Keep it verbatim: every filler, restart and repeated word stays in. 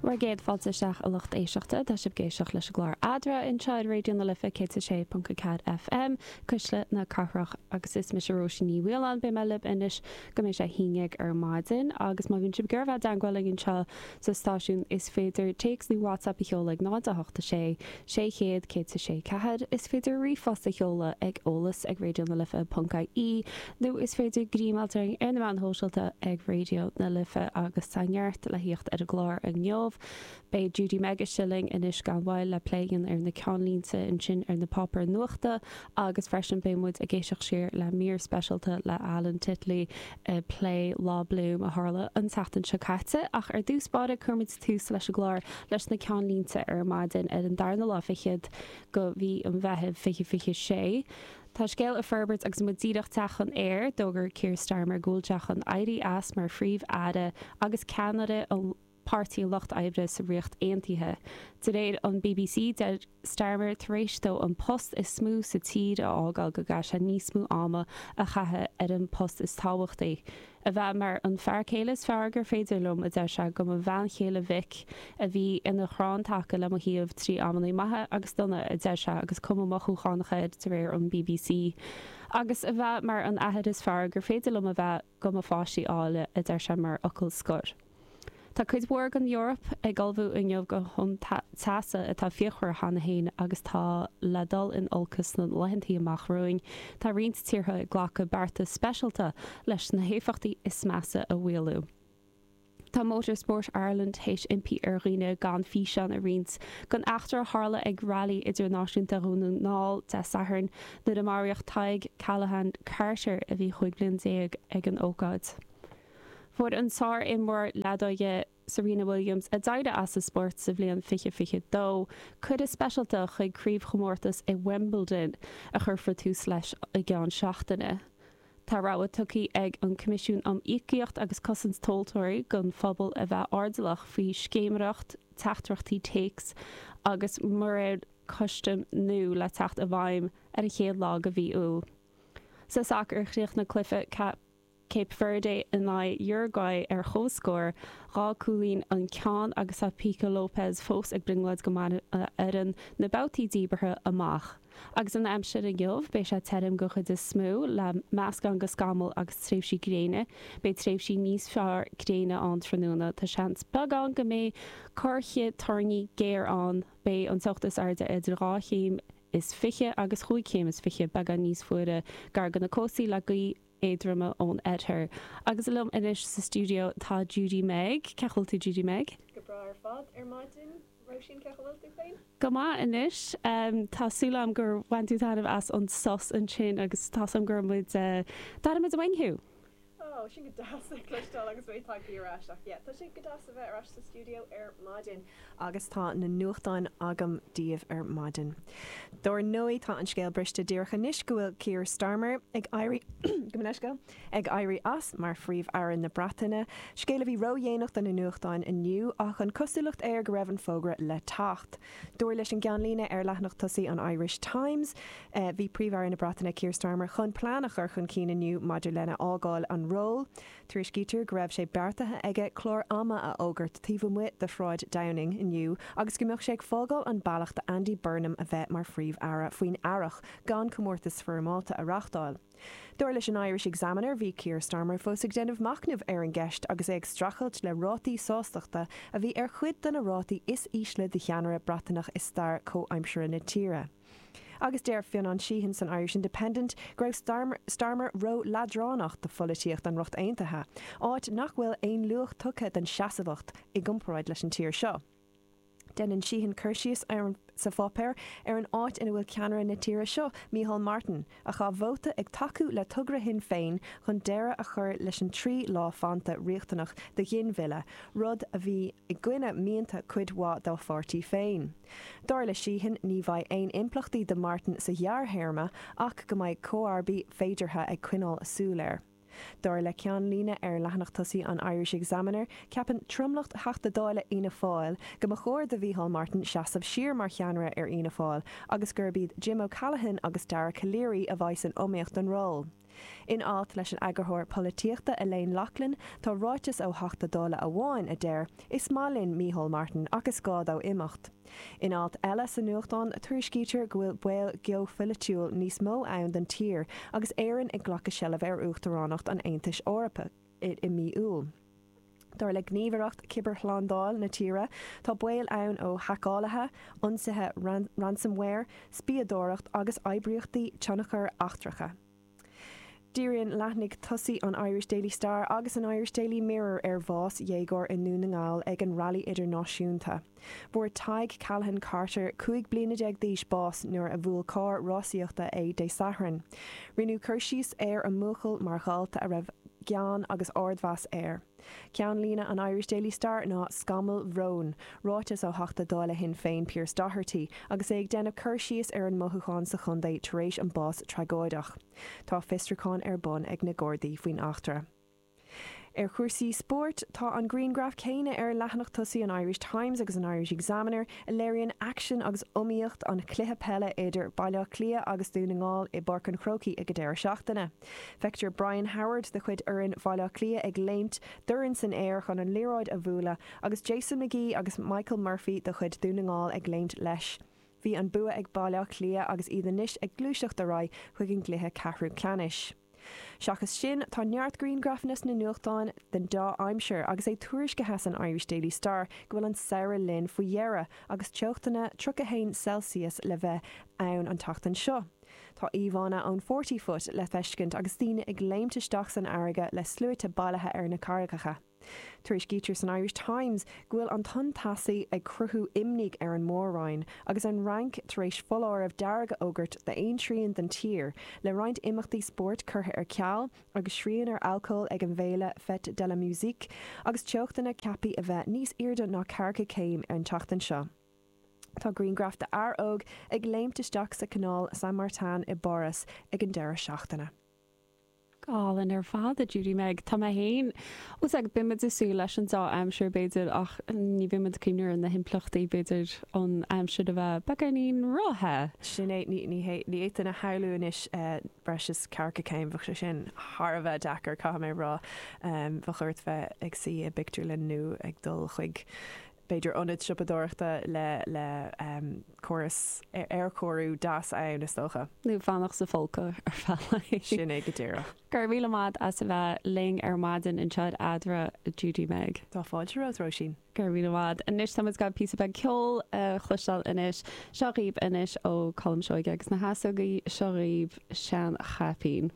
Bhur gcéad fáilte isteach a lucht éisteachta, tá sibh ag éisteacht leis an gclár Eadra anseo ar Raidió na Life céad a sé ponc a ceathair FM, Cuisle na Cathrach agus is mise Róisín Ní Mhaoláin. Beidh mé libh anois go mbeidh sé a haon déag ar maidin agus má bhíonn sibh ag iarraidh bheith i dteagmháil linn anseo sa stáisiún is féidir téacs nó WhatsApp a sheoladh ag náid a hocht a sé, sé chéad, céad a sé ceathair. Is féidir ríomhphost a sheoladh ag eolas ag raidió na life ponc ie nó is féidir greim a fháilt orainn ar na meáin shóisialta ag Raidió na Life agus tá neart le thíocht ar an gclár inniu. Beidh Judy Meg istigh linn anois gan mhoill le plé a dhéanamh ar na ceannlínte ansin ar na páipéir nuachta agus freisin beidh muid ag éisteacht siar le mír speisialta le Alan Titley ag plé Lá Bloom a tharla an tseachtain seo caite. Ach ar dtús báire cuirfimid tús leis an gclár leis na ceannlínte ar maidin ar an darna lá fichead de mhí an Mheithimh fiche fiche sé. Tá scéal ag forbairt agus muid díreach teacht chun aeir, d'fhógair Keir Starmer go bhfuil sé chun éirí as mar Phríomh-Aire agus ceannaire an Páirtí Lucht Oibre sa Ríocht Aontaithe. De réir an bbc, deir Starmer tar éis dó an post is mó sa tír a fhágáil go gcaithfidh sé níos mó ama a chaitheamh ar an post is tábhachtaí. A bheith mar an fear céile is fearr gur féidir liom, a deir sé, do mo bhean chéile Vic, a bhí ina chrann taca le mo thaobh trí amanna maithe agus dona, a deir sé agus cuma mothúchánach air de réir an bbc. Agus a bheith mar an athair is fearr gur féidir liom a bheith do mo pháistí áille, a deir sé mar fhocal scoir. Tá cuid mhór den Eoraip ag ullmhú inniu do thonn teasa atá fíochmhar cheana féin agus atá le dul in olcas sna laethanta amach romhainn. Tá roinnt tíortha ag glacadh bearta speisialta leis na héifeachtaí is measa a mhaolú. Tá Motorsport Ireland théis impí ar dhaoine gan físeán a roinnt den eachtra a tharla ag Railí Idirnáisiúnta Dhún na nGall Dé Sathairn nuair a maraíodh Tadhg Callaghan Carter a bhí chúig bliana déag ag an ócáid. Fuair an sár-imreoir leadóige Serena Williams, a d'éirigh as an spórt sa bhliain fiche fiche dó, cuireadh speisialta chuig craobhchomórtas i Wimbledon a chuirfear tús leis i gceann seachtaine. Tá rabhadh tugtha ag an Coimisiún um Íocaíocht agus Cosaint Tomhaltóirí don phobal a bheith airdeallach faoi scéiméireacht teachtaireachtaí téacs agus muirir custaim nua le teacht i bhfeidhm ar an chéad lá de mhí Iúil. Sa sacar chríochnaigh cluiche Cape Verde in aghaidh Uruguay ar comhscór, dhá chúilín an ceann agus tá Pico Lopes fós ag brionglóid go mbainfidh a fhoireann na babhtaí díbeartha amach. Agus an aimsir inniu, beidh sé tirim den chuid is mó, le meascán de scamaill agus tréimhsí gréine. Beidh tréimhsí níos fearr gréine ann tráthnóna. Tá seans beag ann go mbeidh corrchith toirní géar ann. Beidh an teocht is airde idir dhá chéim is fiche agus chúig chéim is fiche, beagán níos fuaire gar do na cóstaí le gaoth éadrom ón oirthear. Agus liom anois sa stiúideo tá Judy Meg. Cén chaoi a bhfuil tú Judy Meg? Go breá ar fad ar maidin Róisín cén chaoi a bhfuil tú féin? Go maith anois. Tá súil agam gur bhain tú taitneamh as an sos ansin agus tá súil agam go raibh muid d'airigh muid uainn thú. Ó, sin go deas a chloisteáil agus mé tagtha ar ais ach yeah, tá sé go deas a bheith ar ais sa stiúideo ar maidin agus tá na nuachtáin agam daoibh ar maidin. Dár ndóigh tá an scéal briste díreach anois go bhfuil Keir Starmer ag éirí go leisceal ag éirí as mar phríomh-aire na Breataine, scéal a bhí ródhéanach do na nuachtáin inniu ach an cosúlacht air go raibh an fógra le teacht. Dar leis an gceannlíne ar leathanach tosaigh an Irish Times, bhí príomh-aire na Breataine Keir Starmer chun plean a chur chun cinn inniu maidir lena fhágáil an ról. Tuairiscítear go raibh sé beartaithe aige clár ama a fhógairt taobh amuigh de Shráid Downing inniu agus go mbeadh sé ag fágáil an bealach do Andy Burnham a bheith mar phríomh-aire faoin earrach gan comórtas foirmeálta a reáchtáil. Dar leis an Irish Examiner bhí Keir Starmer fós ag déanamh machnaimh ar an gceist agus é ag streachailt le rátaí sástachta a bhí ar chuid de na rátaí is ísle de cheannaire Breataineach i stair comhaimseartha na tíre. Agus deir Fionnán Sheehan san Irish Independent go raibh Starmer, Starmer ró-leadránach do pholaitíocht an Ríocht Aontaithe, áit nach bhfuil aon luach tugtha don seasamhacht i gcomparáid leis an tír seo. Déanann Sheehan cur síos ar sa pháipéar ar an áit ina bhfuil ceannaire na tíre seo, Micheál Martin, a chaith vóta ag tacú le togra Shinn Féin chun deireadh a chur leis an trí lá fanta riachtanach do ghinmhilleadh, rud a bhí i gcoinne mianta cuid mhaith dá pháirtí féin. Dar le Sheehan ní bheidh aon impleachtaí do Martin sa ghearrthéarma ach go mbeidh comharbaí féideartha ag coinneáil a súil air. Dar le ceannlíne ar leathanach tosaigh an Irish Examiner, ceapann tromlach Theachtaí Dála Fhianna Fáil go mba chóir do Mhicheál Martin seasamh siar mar cheannaire ar Fhianna Fáil agus gurb iad Jim O'Callaghan agus Dara Calleary a bheidh san iomaíocht don ról. In alt leis an eagarthóir polaitíochta Elaine Loughlin tá ráiteas ó Theachta Dála amháin a deir, is maith linn Micheál Martin ach is gá dó imeacht. In alt eile sa nuachtán tuairiscítear go bhfuil baol geopholaitiúil níos mó ann don tír agus Éirinn ag glacadh seilbh ar Uachtaránacht an Aontais Eorpaigh i mí Iúil. Dar le gníomhaireacht cibearshlándáil na tíre tá baol ann ó haiceálaithe, ionsaithe ransomware, spiadóireacht agus oibríochtaí tionchair eachtracha. Díríonn leathanaigh tosaigh an Irish Daily Star agus an Irish Daily Mirror ar bhás dhéagóir i nDún na nGall ag an Rally Idirnáisiúnta. Fuair Tadhg Callahan Carter cúig bliana déag d'aois bás nuair a bhuail carr rásaíochta é Dé Sathairn. Rinneadh cur síos ar an mbuachaill mar dhalta a raibh gean agus ardmheas air. Ceannlíne an Irish Daily Star ná scamaill bhróin, ráiteas ó Theachta Dála Shinn Féin Pearse Doherty, agus é ag déanamh cur síos ar an mothúchán sa chontae tar éis an bás tragóideach. Tá fiosrúchán ar bun ag na Gardaí faoin eachtra. Ar chúrsaí spóirt tá an grianghraf céanna ar leathanach tosaigh an Irish Times agus an Irish Examiner a léiríonn aicsean agus iomaíocht an chluiche peile idir Baile Átha Cliath agus Dún na nGall i bPáirc an Chrócaigh ag an deireadh seachtaine. Feictear Brian Howard de chuid fhoireann Bhaile Átha Cliath ag léimt dorn san aer chun an liathróid a bhualadh agus Jason McGee agus Michael Murphy de chuid Dún na nGall ag léimt leis. Bhí an bua ag Baile Átha Cliath agus iad anois ag gluaiseacht ar aghaidh chuig an gcluiche ceathrú ceannais. Seachas sin tá neart grianghrafanna sna nuachtáin den dá aimsir agus é tuairiscithe san Irish Daily Star go bhfuil an samhradh linn faoi dheireadh agus teochtanna tríocha haon Celsius le bheith ann an tseachtain seo. Tá íomhánna ón Forty Foot le feiscint agus daoine ag léimt isteach san fharraige le sluaite bailithe ar na carraigeacha. Tuairiscítear san Irish Times go bhfuil an tonn teasa ag cruthú imní ar an Mór-Roinn agus an Fhrainc tar éis foláireamh dearg a fhógairt d'aon trian den tír, le roinnt imeachtaí spóirt curtha ar ceal agus srian ar alcól ag an bhféile Fête de la Musique agus teochtanna ceaptha a bheith níos airde ná ceathracha céim ar an tseachtain seo. Tá grianghraf de fhear óg ag léimt isteach sa Canal Saint-Martin i bPáras ag an deireadh seachtaine. Álainn ar fad a Judy Meg Tá mé féin os ag bimid ag súil leis an dá aimsir b'fhéidir ach ní bhímid ag cuimhneamh ar na himpleachtaí b'fhéidir an aimsir a bheith beagáinín róthe. Sin é ní ní fhéadfainn a shamhlú anois breis is ceathracha céim bheadh sé sin thar a bheith deacair caithfidh mé rá bheadh ort bheith ag suí i bpictiúrlann nó ag dul chuig b'fhéidir ionad siopadóireachta le le um, córas aerchóiriú deas ann is dócha. Nó fanacht sa phóca ar feadh. Sin é go díreach. Go raibh míle maith as a bheith linn ar maidin anseo ar Eadra Judy Meg. Tá fáilte romhat Róisín. Go raibh míle maith. Anois tá gach píosa beag ceoil a chloisteáil anois seo dhaoibh anois ó Colm Seoige agus na hEasógaí seo dhaoibh Seanchaipín.